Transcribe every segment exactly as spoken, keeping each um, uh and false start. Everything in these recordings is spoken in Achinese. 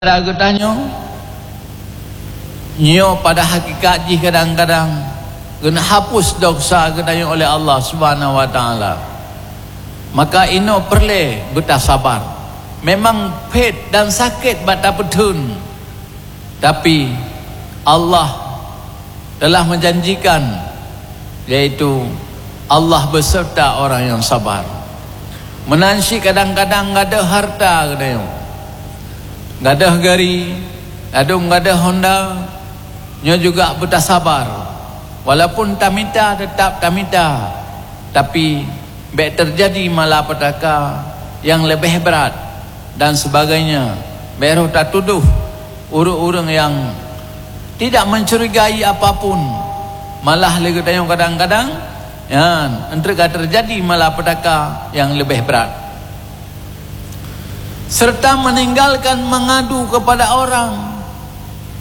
Geutanyoe nyoe pada hakikat jih kadang-kadang geuhapus desya geutanyoe oleh Allah Subhanahu wa Taala. Maka inoe peureulée beutasabar. Memang phet dan sakét bak tapeutheun, tapi Allah telah menjanjikan, yaitu Allah beserta orang yang sabar. Meunan cit kadang-kadang gadôh hareuta geutanyoe, gadôh gari, ladôm gadôh honda, nyoe juga beutasabar. Walaupun tamita, teutap tamita, tapi bék teujadi malapetaka nyang leubeh brat dan sebagainya. Bék roh tatudoh ureuëng-ureuëng nyang tidak mencurigai apapun. Malah lé geutanyoe kadang-kadang nyan enteuk ka teujadi malapetaka nyang leubeh brat. Serta meninggalkan mengadu kepada orang.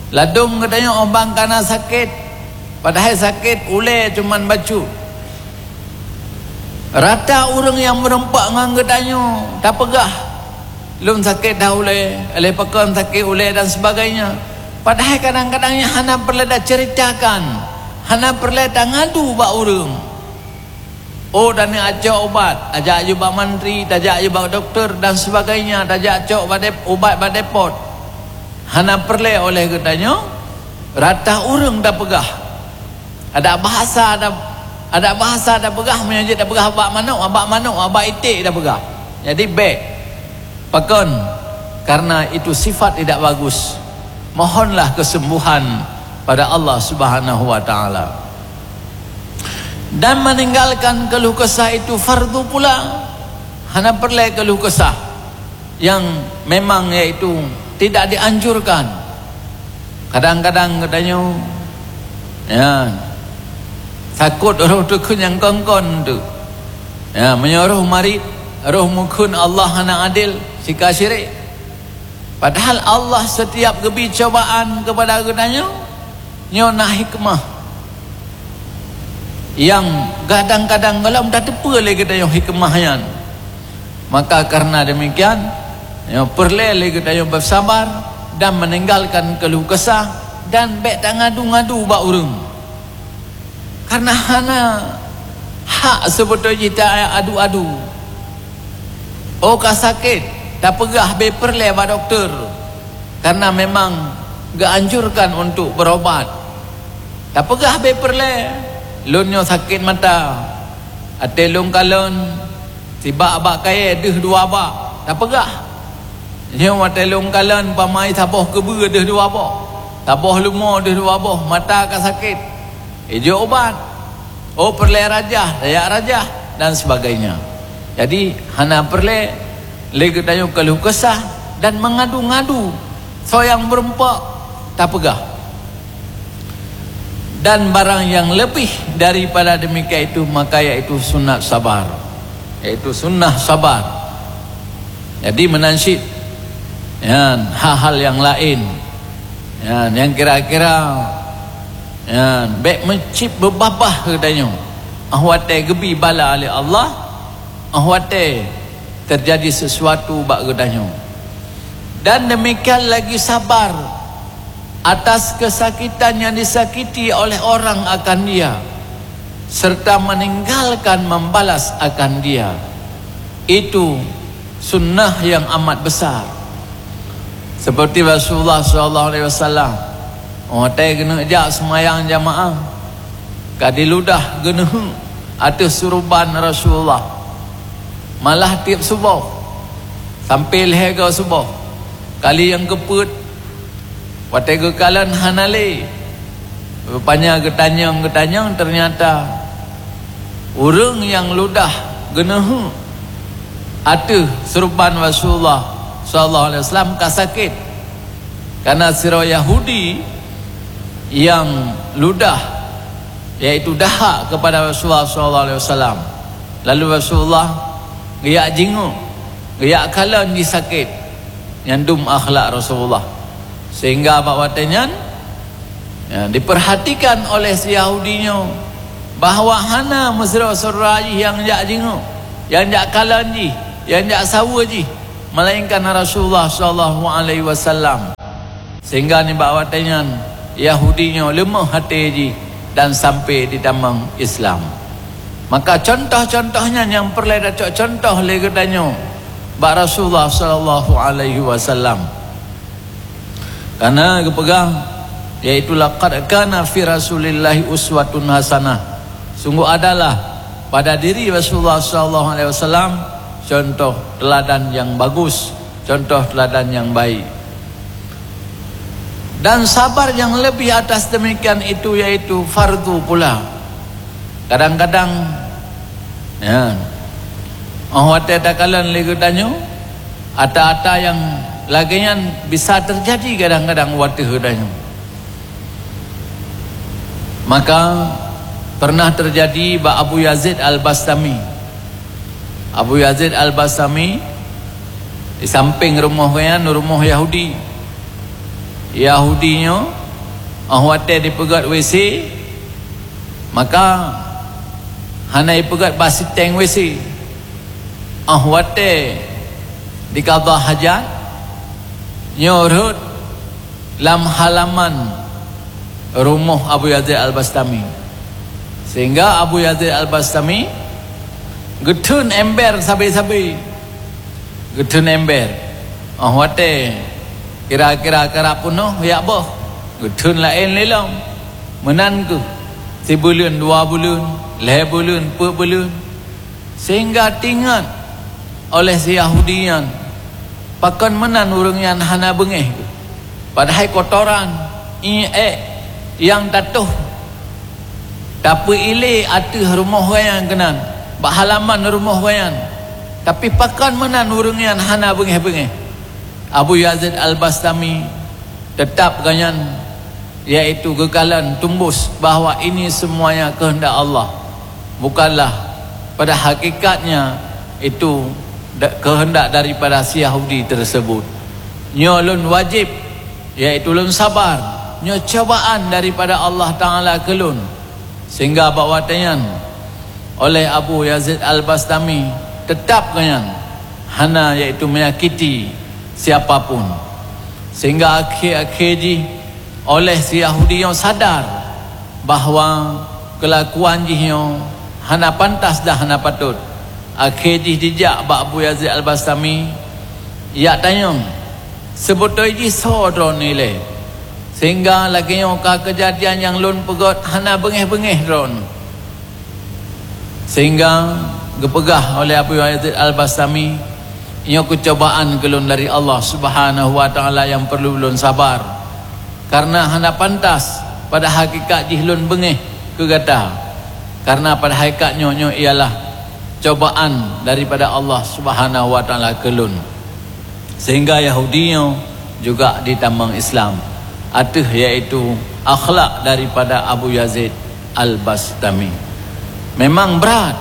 Ladôm geutanyoe óh ban kana sakét, padahai sakét ulée cuman bacut. Rata ureuëng nyang meureumpok ngon geutanyoe tapeugah, "Lôn sakét dah ulée, lé pakon sakét ulée," dan sebagainya. Padahai kadang-kadang nyan hana peureulée taceuritakan, hana peureulée tangadu bak ureuëng. Oh, taneuk cok ubat, tajak jeuet bak mantri, tajak jeuet bak dokto dan sebagainya, tajak cok bak dep-, ubat bak depot. Hana peureulée oleh geutanyoe rata ureuëng tapeugah. Adak bahasa ta-, adak bahasa tapeugah, meunyoe jeuet tapeugah bak manok, bak manok, bak iték tapeugah. Jadi bék. Pakon? Karena itu sifat tidak bagus. Mohonlah kesembuhan pada Allah Subhanahu wa Taala. Dan meninggalkan keluh kesah itu fardu pula. Hana peureulée keluh kesah nyang memang yaitu tidak dianjurkan. Kadang-kadang geutanyoe, ya, takot roh teuh kheun nyang kon-kon tu. Ya, meunyoe roh marit, roh meukeun Allah hana adil, sika syirik. Padahal Allah setiap geubi cobaan kepada geutanyoe, nyoe na hikmah nyang kadang-kadang gohlom tateupeue lé geutanyoe hikmah nyan. Maka karena demikian, nyoe peureulée lé geutanyoe bersabar dan meninggalkan keluh kesah dan bék tangadu-ngadu bak ureuëng. Karena hana hak seubeutôi jih ta adu-adu. Oh ka sakét, tapeugah bék peureulée bak dokto, karena memang geuanjurkan untuk berobat. Tapeugah bék peureulée, "Lôn nyoe sakét mata, até lôn kalon, sibak bak kayée deuh dua bak." Tapeugah. Nyoe watée lôn kalon pamai saboh keubeue deuh dua boh, saboh leumo deuh dua boh, mata ka sakét. Ijok ubat. Oh, peureulée rajah, tajak rajah, dan sebagainya. Jadi, hana peureulée lé geutanyoe keluh kesah dan mengadu-ngadu. Soe nyang meureumpok, tapeugah. Dan barang yang lebih daripada demikian itu, maka yaitu sunat sabar. Yaitu sunnah sabar. Jadi, meunan cit, nyan, hal-hal yang laén, nyan, nyang kira-kira, nyan, bék meucit beubabah geutanyoe. Ah watée geubi bala lé Allah, ah watée teujadi sesuatu bak geutanyoe. Dan demikian lagi sabar atas kesakitan yang disakiti oleh orang akan dia, serta meninggalkan membalas akan dia. Itu sunnah yang amat besar. Seperti Rasulullah sallallahu alaihi wasallam, watée geuneuk jak seumayang jamaah, ka diludah geuneuheuk ateueh suruban Rasulullah. Malah tieb suboh, sampoe lhée goe suboh, kali nyang keupeuet, watée geukalon hana lé. Rupanya geutanyong-geutanyong, ternyata ureuëng nyang ludah geuneuheuk ateueh suruban Rasulullah sallallahu alaihi wasallam ka sakét. Karena sidroe Yahudi nyang ludah, yaitu dahak kepada Rasulullah sallallahu alaihi wasallam. Lalu Rasulullah geujak jingok, geujak kalon jih sakét. Nyan dum akhlak Rasulullah. Sehingga bak watée nyan, ya, diperhatikan oleh si Yahudi nyoe bahwa hana meusidroe syedara jih nyang jak jingok, nyang jak kalon jih, nyang jak saweue jih. melainkan Rasulullah sallallahu alaihi wasallam. Sehingga nibak watée nyan, Yahudi nyoe leumoh até jih dan sampai jitamong Islam. Maka contoh-contoh nyan nyang peureulée tacok contoh lé geutanyoe bak Rasulullah sallallahu alaihi wasallam. Karena geupeugah, yaitu, "Laqad kana fi Rasulillahi uswatun hasanah." Sungguh adalah pada diri Rasulullah sallallahu alaihi wasallam contoh teladan yang bagus, contoh teladan yang baik. Dan sabar yang lebih atas demikian itu yaitu fardu pula. Kadang-kadang, ya, oh watée takalon lé geutanyoe, ata-ata yang lagée nyan bisa terjadi kadang-kadang watée geutanyoe. Maka pernah terjadi bak Abu Yazid Al-Bastami. Abu Yazid Al-Bastami di samping rumoh geuh nyan rumoh Yahudi. Yahudi nyoe, oh watée dipeugét W C, maka hana ipeugét bak siteng W C. Oh watée dikada hajat, nyoe rhot lam halaman rumoh Abu Yazid Al-Bastami. Sehingga Abu Yazid Al-Bastami geutheun ember sabe-sabe. Geutheun ember. Oh watée kira-kira karab peunoh yak boh, geutheun laén lé lom. Meunan keuh sibuleuen, dua buleuen, lhée buleuen, peuet buleuen. Sehingga teuingat oleh si Yahudi nyan, pakon meunan ureuëng nyan hana beungéh, padahai kotoran, iék nyang tatoh tapeuilée ateueh rumoh geuh nyan keunan, bak halaman rumoh geuh nyan. Tapi pakon meunan ureuëng nyan hana beungéh-beungéh? Abu Yazid Al-Bastami teutap geuh nyan, yaitu geukalon tumbus bahwa ini semuanya kehendak Allah, bukanlah pada hakikatnya itu da-, kehendak daripada si Yahudi tersebut. Nyoe lôn wajib, yaitu lôn sabar, nyoe cobaan daripada Allah Taala keu lôn. Sehingga bak watée nyan, oleh Abu Yazid Al-Bastami teutap geuh nyan hana, yaitu menyakiti siapa pun. Sehingga akhé-akhé jih oleh si Yahudi nyoe sadar bahwa keulakuan jih nyoe hana pantas dan hana patôt. Akhé jih jijak bak Abu Yazid Al-Bastami, yak tanyong, "Seubeutôi jih soe droeneuh ilée, sehingga lagée nyoe ka keujadian nyang lôn peugét hana beungéh-beungéh droeneuh?" Sehingga geupeugah oleh Abu Yazid Al-Bastami, "Nyoe keucobaan keu lôn dari Allah Subhanahu wa Taala nyang peureulée lôn sabar, karena hana pantas pada hakikat jih lôn beungéh keu gata, karena pada hakikat nyoe, nyoe ialah cobaan daripada Allah Subhanahu wa Taala keu lôn." Sehingga Yahudi nyoe juga jitamong Islam, ateueh yaitu akhlak daripada Abu Yazid Al-Bastami. Memang brat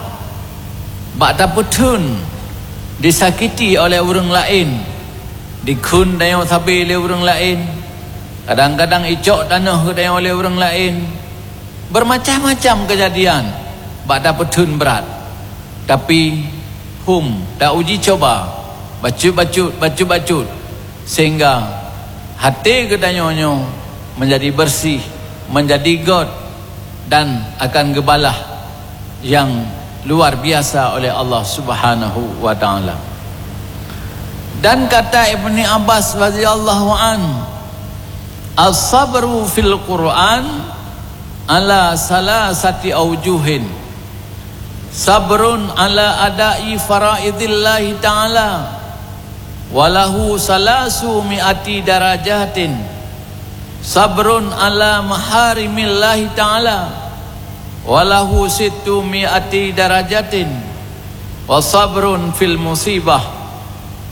bak tapeutheun, disakiti oleh ureuëng laén, dikheun tanyoe sabe lé ureuëng laén, kadang-kadang icok tanoh geutanyoe lé ureuëng laén. Bermacam-macam keujadian bak tapeutheun brat. Tapi hom tauji cuba, bacut-bacut, bacut-bacut, sehingga até geutanyoe nyoe menjadi bersih, menjadi göt, dan akan geubalah nyang luar biasa oleh Allah Subhanahu wa Taala. Dan kata Ibni Abbas radhiyallahu an, "As-sabru fil Qur'an ala salasati aujuhin. Sabrun ala ada'i faraidillahi ta'ala, walahu salasu mi'ati darajatin. Sabrun ala maharimillahi ta'ala, walahu sittu mi'ati darajatin. Wa sabrun fil musibah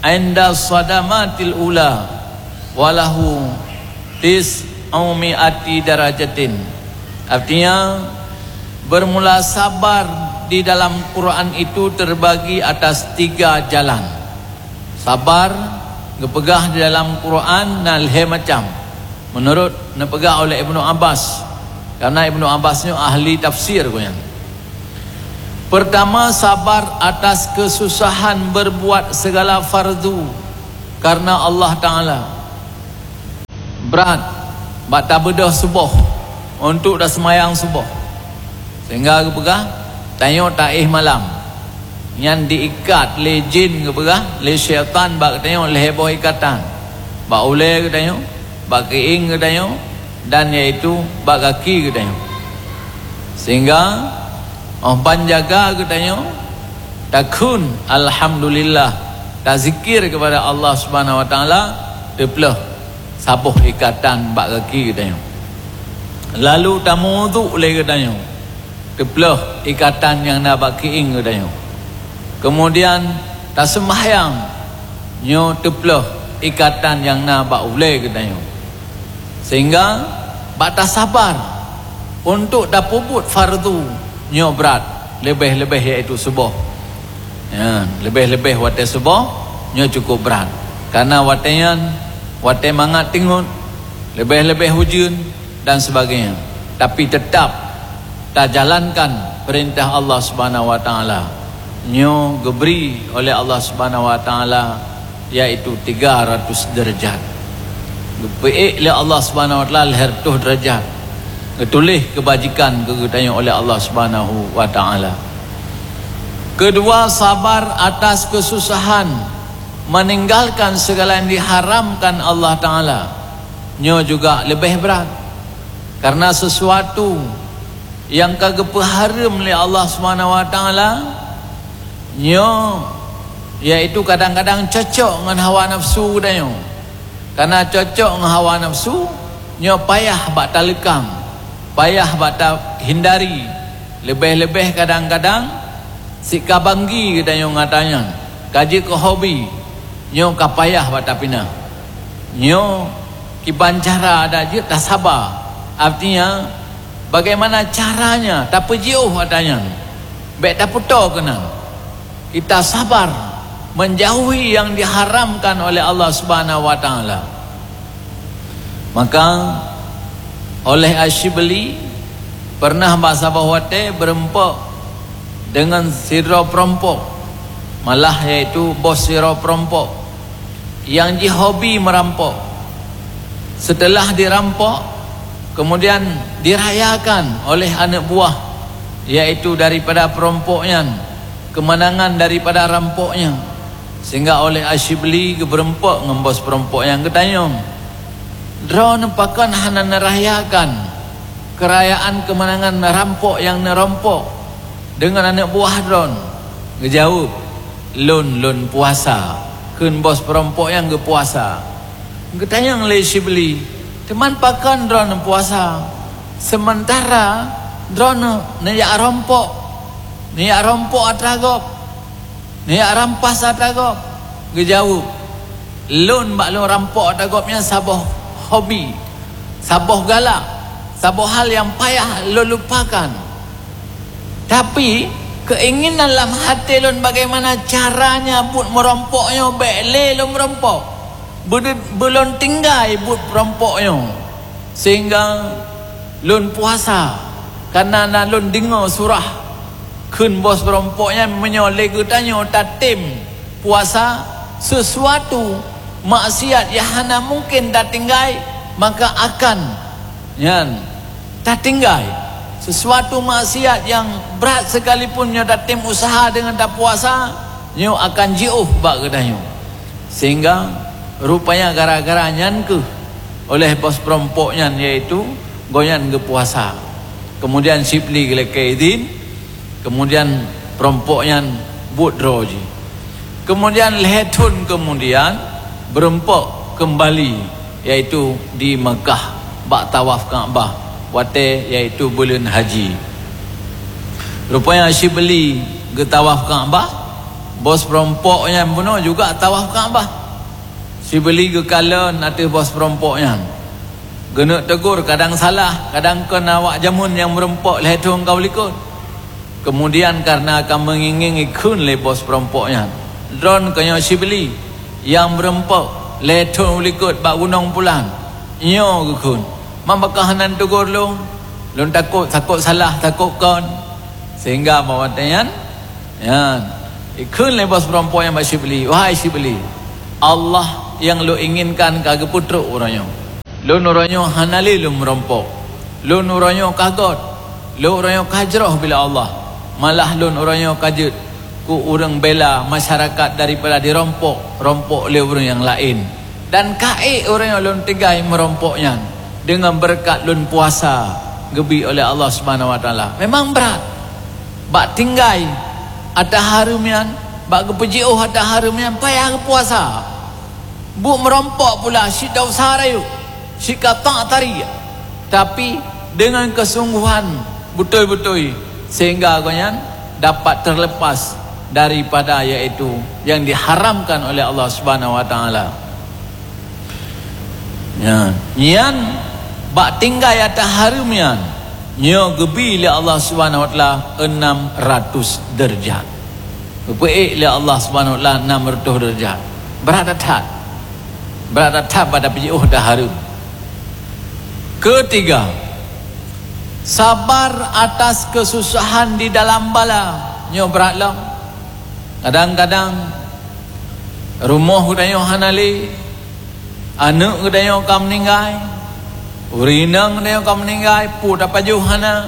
inda sadamatil ula, walahu tis'u mi'ati darajatin." Artinya, bermula sabar di dalam Quran itu terbagi atas tiga jalan. Sabar geupeugah di dalam Quran na lhée macam, menurut neupeugah oleh Ibnu Abbas, karena Ibnu Abbas nyoe ahli tafsir geuh nyan. Pertama, sabar atas kesusahan berbuat segala fardu Karena Allah Taala brat bak tabeudôh suboh untuk taseumayang suboh, sehingga geupeugah tanyoe taéh malam. Nyan diikat lé jin geupeugah lé syaitan bak geutanyoe lhée boh ikatan, bak ulée geutanyoe, bak keuieng geutanyoe, dan yaitu bak gaki geutanyoe. Sehingga óh ban jaga geutanyoe takheun alhamdulillah, tazikir kepada Allah Subhanahu Wa Taala, teuplôh saboh ikatan bak gaki geutanyoe. Lalu tamuduk lé geutanyoe, teuplôh ikatan nyang na bak keuieng geutanyoe. Kemudian taseumbahyang, nyoe teuplôh ikatan nyang na bak ulée geutanyoe. Sehingga bak tasabar untuk tapeubuet fardu nyoe brat, leubeh-leubeh yaitu suboh. Ya, leubeh-leubeh watée suboh nyoe cukup brat. Karena watée nyan, watée mangat tingot, leubeh-leubeh ujeuen dan sebagainya. Tapi tetap tajalankan perintah Allah Subhanahu Wa Taala. Nyoe geubri oleh Allah Subhanahu Wa Taala, yaitu tiga ratus derajat. Geupeuék lé Allah Subhanahu Wa Taala lhée reutôh derajat. Geutuléh keubajikan keu geutanyoe oleh Allah Subhanahu Wa Taala. Kedua, sabar atas kesusahan, meninggalkan segala yang diharamkan Allah Taala. Nyoe juga leubeh brat. Karena sesuatu nyang ka geupeuhareuem lé Allah Subhanahu Wa Taala, nyoe yaitu kadang-kadang cocok ngon hawa nafsu geutanyoe. Karena cocok ngon hawa nafsu, nyoe payah bak taleukang, payah bak tahindari. Leubeh-leubeh kadang-kadang sika banggi geutanyoe ngon ata nyan, ka jeuet keu hobi, nyoe ka payah bak tapinah. Nyoe kiban cara adak jeuet tasaba. Artinya, bagaimana caranya tapeujiôh ata nyan? Bék tapeutoe keunan. Kita sabar menjauhi yang diharamkan oleh Allah Subhanahu Wa Taala. Maka oleh Asyibli pernah bak saboh watée beurumpok deungon sidroe peurumpok, malah yaitu bos sidroe peurumpok nyang jihobi meurampok. Seuteulah dirampok, kemudian dirayakan oleh aneuëk buah, yaitu daripada peurumpok nyan, keumanangan daripada rampok nyan, sehingga oleh Asyibli geubeurumpok ngon bos peurumpok nyan geutanyong, "Droeneuh pakon hana neurayakan keurayaan keumanangan rampok nyang neurompok deungon aneuëk buah droen?" Geujaweueb, "Lôn, lôn puasa," kheun bos peurumpok nyang geupuasa. Geutanyong lé Syibli, "Teuma pakon droeneuh puasa, seumeuntara droeneuh neujak rompok, neujak rompok atra gob, neujak rampas atra gob?" Geujaweueb, "Lôn bak lôn rampok atra gob nyan saboh hobi, saboh galak, saboh hal nyang payah lôn lupakan. Tapi, keuinginan lam até lôn bagaimana caranya buet meurompok nyoe bék lé lôn meurompok, beu-, beulôn tinggai buet peurompok nyoe, sehingga lôn puasa, kareuna na lôn deungoe surah." Kheun bos peurompok nyan, "Meunyoe lé geutanyoe tatem puasa, sesuatu maksiat nyang hana mungken tatinggai, maka akan nyan tatinggai. Sesuatu maksiat nyang brat sekalipun nyoe tatem useuha deungon tapuasa, nyoe akan jiôh bak geutanyoe." Sehingga rupanya gara-gara nyan keuh oleh bos peurompok nyan, yaitu gobnyan geupuasa. Kemudian Syibli geulakée idhin, kemudian peurompok nyan buet droe jih. Kemudian lhée thon kemudian, beurumpok keumbali, yaitu di Meukah bak tawaf Ka'bah watée yaitu buleuen haji. Rupanya Syibli geutawaf Ka'bah, bos peurompok nyan bunoe juga tawaf Ka'bah. Syibli geukalon ateueh bos peurompok nyan. Geuneuk teugor kadang salah, kadang kon awak jameun nyang meurumpok lhée thon ka u likot. Kemudian kareuna ka meungieng-ngieng geukheun lé bos peurumpok nyan, "Droen keuh nyoe Syibli nyang meurumpok lhée thon u likot bak gunong pulan." "Nyoe," geukheun, "man pakon hana neutugor lôn? Lôn takot, takot salah, takot kon." Sehingga bak watée nyan, nyan, geukheun lé bos peurumpok nyan bak Syibli, "Wahai Syibli, Allah nyang lôn inginkan ka geupeutrok uroe nyoe. Lôn uroe nyoe hana lé lôn meurumpok. Lôn uroe nyoe ka göt. Lôn uroe nyoe ka jroh bila Allah. Malah lôn uroe nyoe ka jeuet keu ureuëng bela masyarakat daripada jirumpok-rumpok lé ureuëng nyang laén. Dan ka ék uroe nyoe lôn tinggai meurumpok nyan deungon beureukat lôn puasa geubi oleh Allah Subhanahu Wa Taala. Memang brat. Bak tinggai ata hareuem nyan, bak geupeujiôh ata hareuem nyan payah geupuasa. Buet meurumpok pula cit desya rayeuk, cit ka that tari, tapi deungon keusungguhan beutôi-beutôi, sehingga gobnyan dapat terlepas daripada, yaitu yang diharamkan oleh Allah Subhanahu Wa Taala. Nyan, nyan bak tinggai ata hareuem nyan, nyoe geubi lé Allah Subhanahu Wa Taala enam ratus deurajat. Geupeuék lé Allah Subhanahu Wa Taala enam ratus deurajat. Brat that-that. Brat that-that bak tapeujiôh ata hareuem. Ketiga, sabar atas kesusahan di dalam bala. Nyoe brat lom. Kadang-kadang rumoh geutanyoe hana lé, aneuëk geutanyoe ka meuninggai, ureuëng inong geutanyoe ka meuninggai, peue tapajoh hana,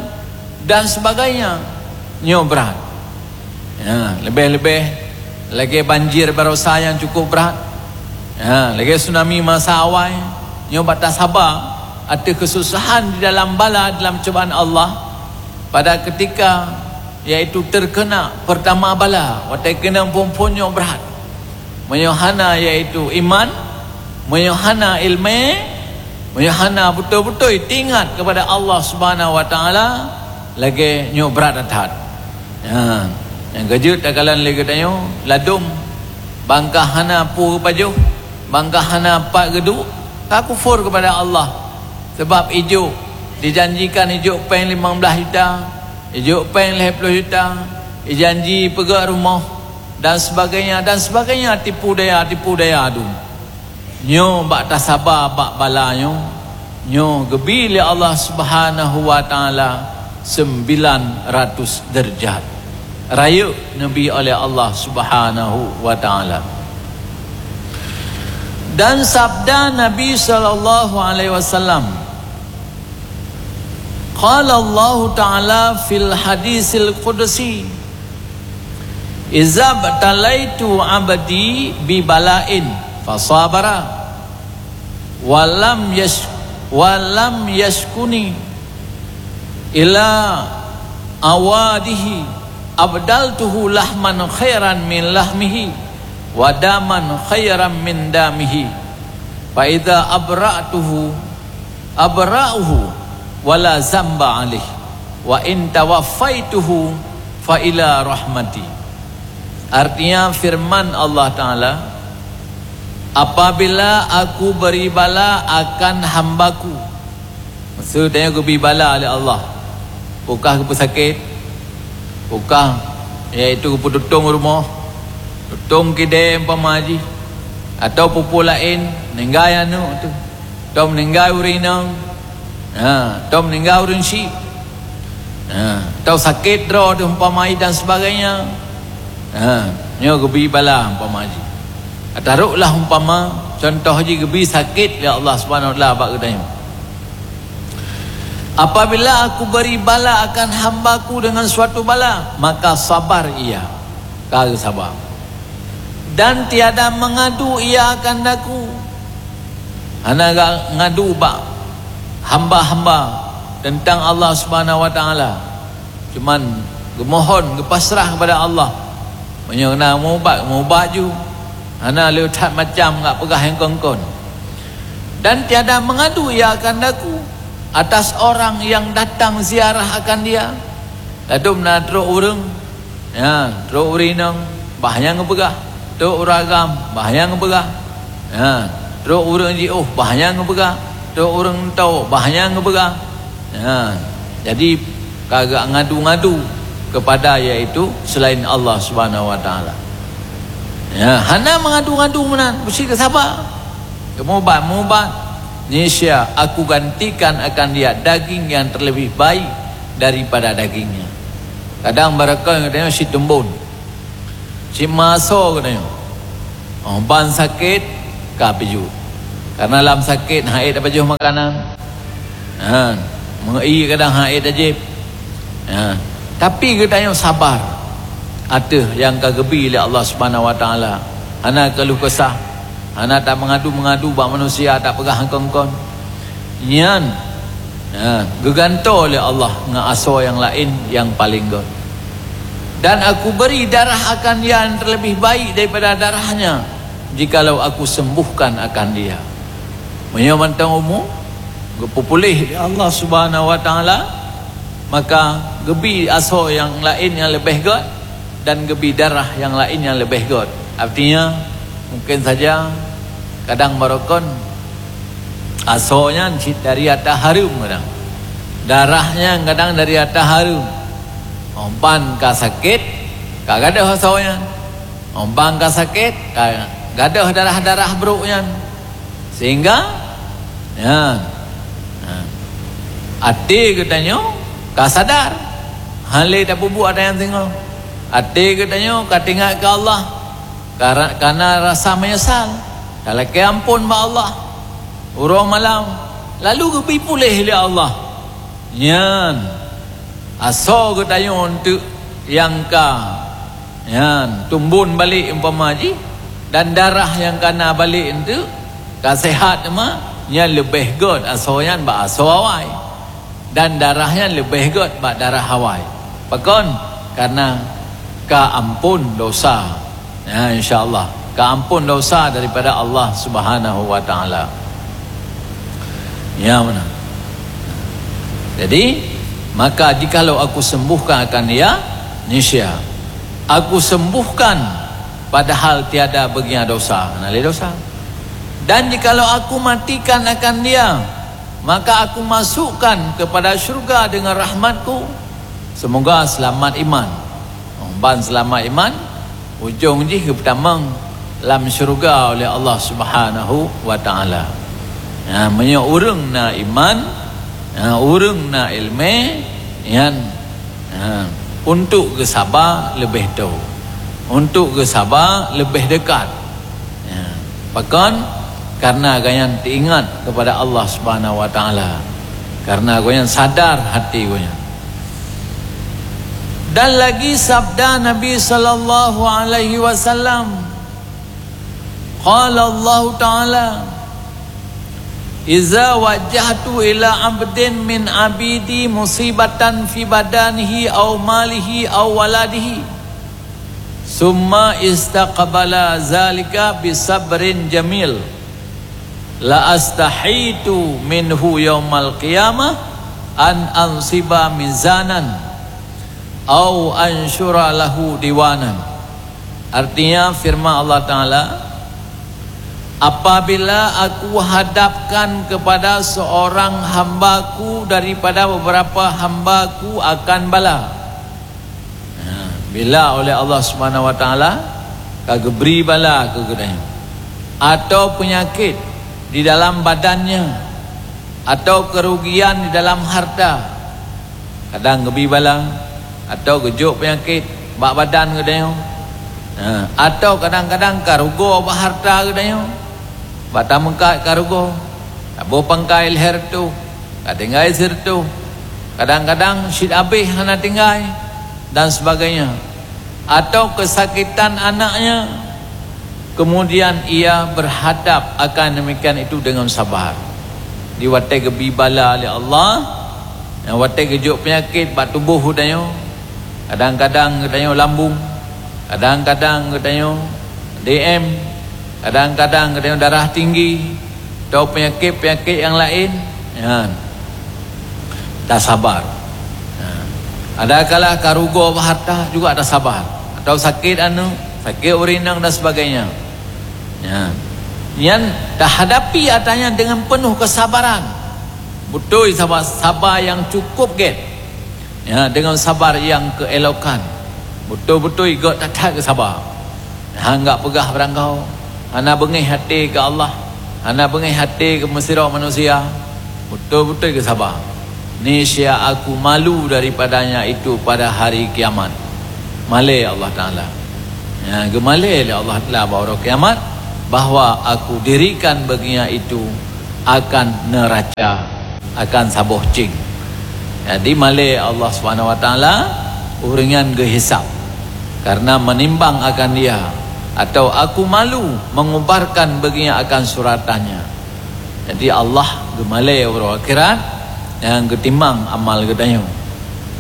dan sebagainya. Nyoe brat. Ya, leubeh-leubeh lagée banjir barosa nyang cukup brat. Ya, lagée tsunami masa awai. Nyoe bak tasaba ateueh keususahan di dalam bala, dalam cubaan Allah. Pada ketika yaitu terkena pertama bala, watée keunong phon-phon nyoe brat. Meunyoe hana yaitu iman, meunyoe hana iéleumé, meunyoe hana beutôi-beutôi teuingat kepada Allah Subhanahu Wa Taala, lagée nyoe brat that-that. Ha, nyang keujeuet takalon lé geutanyoe, ladôm bangka hana peue geupajoh, bangka hana pat geuduek, ka kufur kepada Allah. Sebab ijok, dijanjikan ijok péng limong blaih juta, ijok péng lhée ploh juta, ijanji peugét rumoh, dan sebagainya, dan sebagainya, tipu daya, tipu daya dum. Nyoe bak tasaba bak bala nyoe, nyoe geubi lé Allah Subhanahu Wa Taala sembilan ratus deurajat. Rayeuk neubi oleh Allah Subhanahu Wa Taala. Dan sabda Nabi sallallahu alaihi wasallam, qala Allahu Ta'ala fil hadisil qudsi, "Izabtalaitu abdi bi bala'in fasabara, wa lam yash-, wa lam yashkuni ila awadihi, abdaltuhu lahman khairan min lahmihi, wa daman khairan min damihi. Fa idza abra'tuhu, abra'uhu, wa la zamba alaih. Wa in tawaffaituhu, fa ila rahmati." Artinya firman Allah Ta'ala, "Apabila Aku beri bala akan hamba-Ku," maksud tanyoe geubi bala lé Allah, peue ka geupeusakét, peue ka, yaitu geupeututong rumoh, tutong kidée umpama jih, atau peue-peue laén, meuninggai aneuëk teuh, atau meuninggai ureuëng inong, ha, atau meuninggai ureuëng syik, ha, atau sakét droe teuh umpama jih dan sebagainya. Ha, nyoe geubi bala umpama jih. Taroklah umpama, contoh jih geubi sakét lé Allah Subhanahu Wa Taala bak geutanyoe. Apabila Aku beri bala akan hamba-Ku dengan suatu bala, maka sabar ia, ka geusaba. Dan tiada mengadu ia akan Aku. Hana ga-, ngadu bak hamba-hamba tentang Allah Subhanahu Wa Taala. Cuman geumohon, geupasrah kepada Allah. Meunyoe na meuubat, meuubat ju. Hana le that macam gak peugah nyang kon-kon. Dan tiada mengadu ia akan Aku atas orang yang datang ziarah akan dia. Ladôm na trok ureuëng, ya, trok ureuëng inong, bah nyang geupeugah. Trok ureuëng agam, bah nyang geupeugah. Ya, trok ureuëng jiôh, bah nyang geupeugah. Trok ureuëng tawök, bah nyang geupeugah. Ya, jadi ka geungadu-ngadu kepada yaitu selain Allah Subhanahu Wa Taala. Ya, hana mengadu-ngadu meunan, meusti geusaba. Meuubat-meuubat, niscaya Aku gantikan akan dia daging yang terlebih baik daripada dagingnya. Kadang barangkapeue geutanyoe sit teumbon, sit meuasoe geutanyoe. Oh, ban sakét, ka pijôh. Karena lam sakét han ék tapajoh makanan. Ha, meu-ie kadang han ék tajép. Ha, tapi geutanyoe sabar ateueh nyang ka geubi lé Allah Subhanahu wa Taala. Hana keuluh kesah, hana tameungadu-meungadu bak manusia, tapeugah kon-kon. Nyan, ha, geugantoe lé Allah ngon asoe nyang laén nyang paleng göt. Dan Aku beri darah akan dia yang terlebih baik daripada darahnya, jikalau Aku sembuhkan akan dia. Meunyoe mantong umu geupeupuléh lé Allah Subhanahu wa Taala, maka geubi asoe nyang laén nyang leubeh göt dan geubi darah nyang laén nyang leubeh göt. Artinya, mungkin saja kadang barokon asoe nyan cit dari ata hareuem kadang. Darah nyan kadang dari ata hareuem. Ban ka sakét, ka gadôh asoe nyan. Ban ka sakét, ka gadôh darah-darah brôk nyan. Sehingga, ya, ha, até geutanyoe ka sadar. Han lé tapeubuet ata nyang singoh. Até geutanyoe ka teuingat keu Allah. Ka ra-, ka na rasa meunyeusal. Talakée amphon bak Allah. Uroe malam, lalu geubi puléh lé Allah. Nyan, asoe geutanyoe eunteuk nyang ka, nyan, tumbon balek umpama jih, dan darah nyang ka na balek eunteuk ka seuhat teuma, nyan leubeh göt asoe nyan bak asoe awai. Dan darah nyan leubeh göt bak darah awai. Pakon? Karena ka amphon dosa. Ya, insya Allah. Ka amphon dosa daripada Allah Subhanahu wa Taala. Ya, mana? Jadi, maka jikalau Aku sembuhkan akan dia, niscaya Aku sembuhkan, padahal tiada baginya dosa. Hana lé dosa. Dan jikalau Aku matikan akan dia, maka Aku masukkan kepada syurga dengan rahmat-Ku. Semoga selamat iman. Ban selamat iman, ujong jih geupeutamong lam syurga oleh Allah Subhanahu wa Taala. Ha, meunyoe ureuëng na iman, ha, ureuëng na iéleumé, nyan, ha, untuk geusaba leubeh toe, untuk geusaba leubeh deukat. Ya. Pakon? Karena gobnyan teuingat kepada Allah Subhanahu wa Taala. Karena gobnyan sadar hati gobnyan. Dan lagi sabda Nabi sallallahu alaihi wasallam, qala Allah Taala, "Iza wajjahtu ila abdin min abidi musibatan fi badanihi au malihi au waladihi, summa istaqbala zalika bisabrin jamil, la astahitu minhu yaumal qiyamah an ansiba mizanan au ansyura lahu diwanan." Artinya, firman Allah Taala, "Apabila Aku hadapkan kepada seorang hamba-Ku daripada beberapa hamba-Ku akan bala," ha, bila oleh Allah Subhanahu wa Taala ka geubri bala keu geutanyoe, atau peunyakét di dalam badannya, atau keurugian di dalam harta, kadang geubi bala, atau geujok peunyakét bak badan geutanyoe, ha, atau kadang-kadang ka rugoe bak harta geutanyoe, bak tameungkat ka rugoe, taboh pangkai lhèe reutôh, ka tinggai sireutôh, kadang-kadang cit abéh hana tinggai, dan sebagainya. Atau kesakitan anaknya, kemudian ia berhadap akan demikian itu dengan sabar. Di watèe geubi bala lé Allah, nyang watèe geujok peunyakét bak tuboh geutanyoe, kadang-kadang geutanyoe lambung, kadang-kadang geutanyoe D M, kadang-kadang geutanyoe darah tinggi, atau peunyakét-peunyakét nyang laén, nyan tasabar. Ha. Adakala ka rugoe bak harta juga tasabar, atau sakét aneuk, sakét ureueng inong dan sebagainya. Nyan, nyan tahadapi ata nyan dengan penuh kesabaran. Beutôi saba, saba nyang cukup gét. Ya, dengan sabar nyang keuelokan. Beutôi-beutôi gét that-that keu saba. Hana peugah barangkaho, hana beungéh até keu Allah, hana beungéh até keu meusidroe manusia. Beutôi-beutôi keu saba. Niscaya Aku malu daripadanya itu pada hari kiamat. Malèe Allah Taala. Ya, geumalèe lé Allah Taala bak uroe kiamat. bahwa Aku dirikan bagi nyan itu akan neuraca, akan saboh céng. Jadi malée Allah Subhanahu Wa Taala ureuëng nyan geuhisab karena menimbang akan dia, atau Aku malu mengubarkan bagi nyan akan suratan nyan. Jadi Allah geumalée uroe akhirat nyang geutimang amal geutanyoe,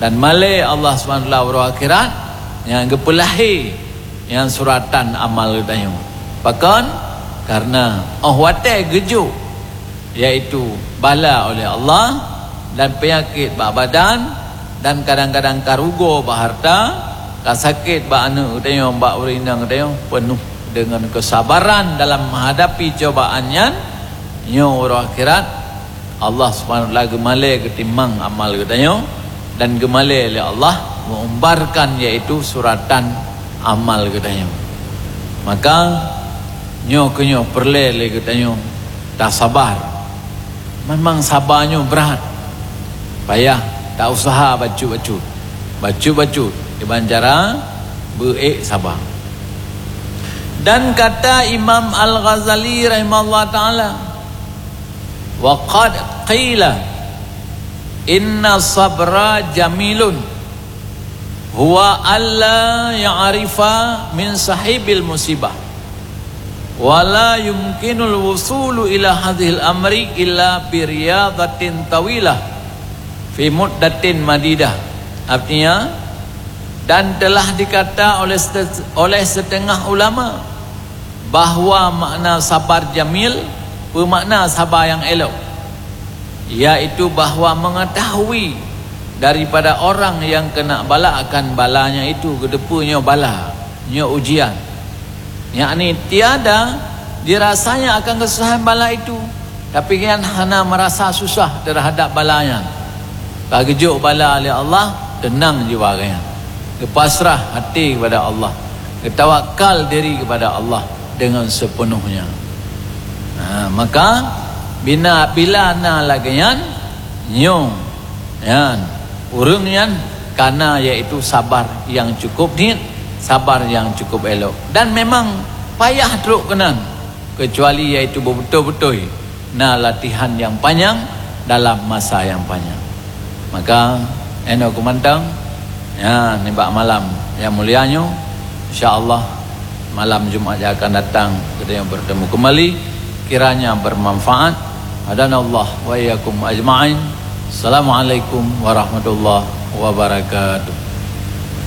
dan malée Allah Subhanahu Wa Taala uroe akhirat nyang geupeulahé nyang suratan amal geutanyoe. Pakon? Karena óh watée geujok, yaitu bala oleh Allah, dan peunyakét bak badan, dan kadang-kadang karugoe bak hareuta, kasakét bak aneuëk geutanyoe, bak ureuëng inong geutanyoe, peunoh deungon keusabaran dalam meuhadapi cobaan nyan. Nyoe uroe akhirat, Allah Subhanahu Wa Taala geumalée geutimang amal geutanyoe, dan geumalée lé Allah meuumbarkan, yaitu suratan amal geutanyoe. Maka nyoe keunyoe peureulée lé geutanyoe tasabar. Memang saba nyoe brat, payah, ta useuha bacut-bacut, bacut-bacut kiban cara beu-ék saba. Dan kata Imam Al-Ghazali rahimahullah taala, "Wa qad qila inna sabra jamilun, huwa alla ya'rifa min sahibil musibah, wa la yumkinul wusulu ila hadzihil amri illa bi riyadatin tawilah fi muddatin madidah." Artinya, dan telah dikata oleh sete-, oleh setengah ulama, bahwa makna sabar jamil beumakna saba nyang élok, yaitu bahwa mengetahui daripada orang nyang keuna bala akan balanya itu, geuteupeue nyoe bala, nyoe ujian. Yakni tiada dirasanya akan kesusahan bala itu, tapi nyan hana merasa susah terhadap bala nyan. Ka geujok bala lé Allah, teunang jiwa geuhnyan. Geupasrah até kepada Allah, geutawakal diri kepada Allah dengan sepenuhnya. Ha, maka bina, bila na lagée nyan, nyoe nyan, ureuëng nyan kana yaitu sabar nyang cukup niet, sabar nyang cukup élok. Dan memang payah trok keunan, kecuali yaitu beubeutôi-beutôi na latihan nyang panyang dalam masa nyang panyang. Maka, inoe keumantong, ya, nibak malam nyang mulia nyoe, insya Allah, malam Jumat nyang akan datang, kita yang bertemu kembali, kiranya bermanfaat. Hadanallah wa iyyakum ajma'in. Assalamualaikum warahmatullahi wabarakatuh.